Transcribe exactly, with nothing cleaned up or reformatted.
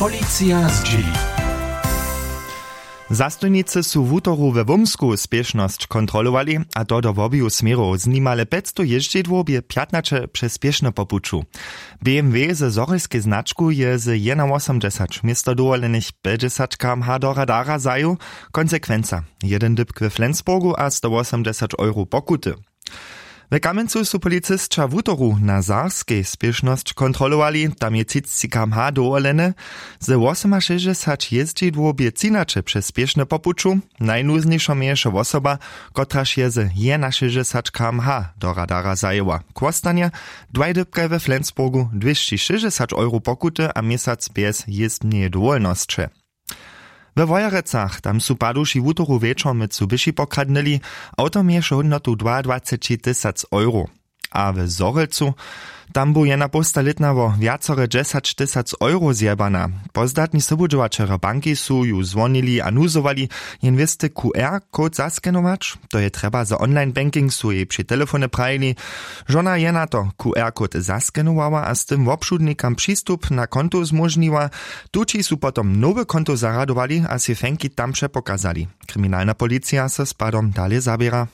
Policija zdźěli. Zastojnicy su wutoru we wómsku spěšnosć kontrolowali, a to do wobiju směrow. Z nimale pjećstow jězdźidłow bě pjatnaće přez spěšne po puću. BMW ze zhorjelskej značku je z jednawosomdźesać město dowolenych pjećdźesać kmh do radara zajěł. Konsekwenca: jedyn dypk we flensburgu a stowosomdźesać euro pokuty. We kamjencu su policisća wutoru na zarskej spěšnosć kontrolowali. Tam je třicci kmh dowolene. Ze wosomašěsćdźesać jězdźidłow bě třinaće přez spěšne po puću. Najnuznjejšo měješe wosoba, kotraž je ze jenašěsćdźesać kmh do radara zajěła. K wostanje: dwaj dypkaj we flensburgu, dwěsći šěsćdźesać euro pokuty a měsac bjez jězbneje dowolnosće. We wojerecach tam su paduši wutoru wječor mytsu běši pokradnyli. Awto měješe hódnotu dwaadwaceći tysac euro. A w zhorjelcu, tam bu jedna połstalětna wo wjacore dźesać tysac euro zjebana. Pozdatni sobudźěłaćerjo banki su ju zwonili a nuzowali, jen wěsty qr code zaskenować. To je trjeba za online banking, su jej při telefony prajili. Žona je na to qr code zaskenowała a z tym wobšudnikam přistup na konto zmóžniła. Tući su potom nowe konto zarjadowali a sej fenki tam přepokazali. Kriminalna policija so z padom dale zaběra.